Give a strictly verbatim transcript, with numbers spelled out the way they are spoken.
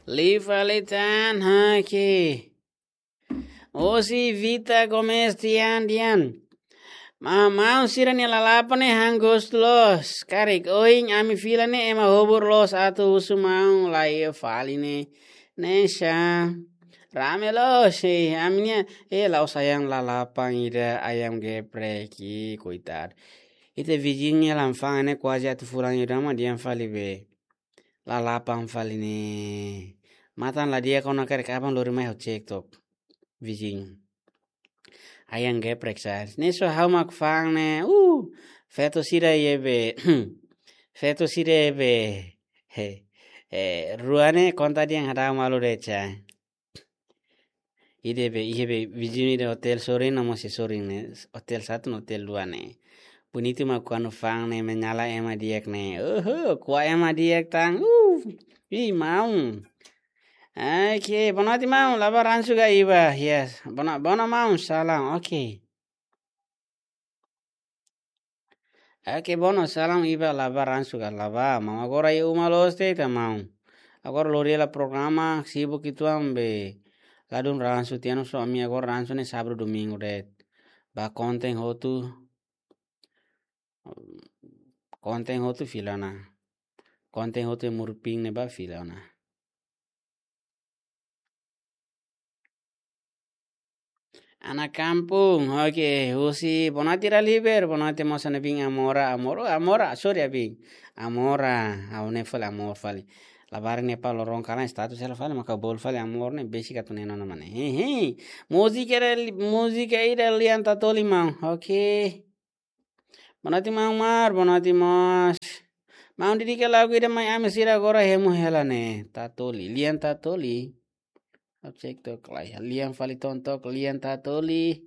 Liu fali tan, oke. Osi Vita Gomez tian dian. Maun-maun sira-nia lalapan ne'e han gostu loos. Karik ohin ami fila ne'e ema hobur loos atu husu maun la iha fali ne'e. Ne'e sá. Rame loos, eh, ami-nia, eh, la'ós ayam lalapan ida, ayam geprek, ih, koitadu. Ita viziñu nia la'en fa'an ne'e kuaze atu fulan ida mak dehan fali be. Lalapan fali ne'e. Matan la di'ak ona karik aban lori mai ha'u cek tok. Viziñu. Ayam geprek sá. Ne'e só ha'u mak fa'an ne'e. Uh, feto sira iha be. Feto sira iha be. He. Eh, rua ne'e konta dehan hadau malu de'it sá. Ida be, iha be, viziñu ida hotel sorin, no mós sorin ne'e. Hotel satu no hotel dua ne'e. Bonitu mak kuandu fa'an ne'e menyala ema di'ak ne'e. Oho, kuat ema di'ak tan. Uh, ih, maun. Oke, boa noite, maun. Labaran suga iba. Yes. Boa no-, boa noite, maun. Salam. Oke. Oke, boa noite, salam iba, labaran suga laba. Maun agora iha uma loos de'it ita maun. Agora lori hela programa, sibuk uitoan be. Ladún ransu tiha ona só ami agora ransu ne'e sábadu domingu de'it. Ba konten hotu. Konten hotu fila ona. Konten hotu murping ne'e ba fila ona. Ana kampung, oke, husi, boa noite Raliber, boa noite mós Ana Bin Amora, Amora, Amora, sorry, Abin. Amora, ha'u ne'e fali Amor fali. Labarik ne'e pa loron kalan status hela fali, maka bolu fali Amor ne'e, besik atu ne'e nona mane. He, he. Múzika ida, múzika ida Lian Tatoli maun, oke. Boa noite, maun Mar, boa noite mós. Maun, dedika lagu ida mai ami sira agora hemu hela ne'e. Tatoli, Lian Tatoli. Ha'u cek tok lai. Lian fali tontok, Lian Tatoli.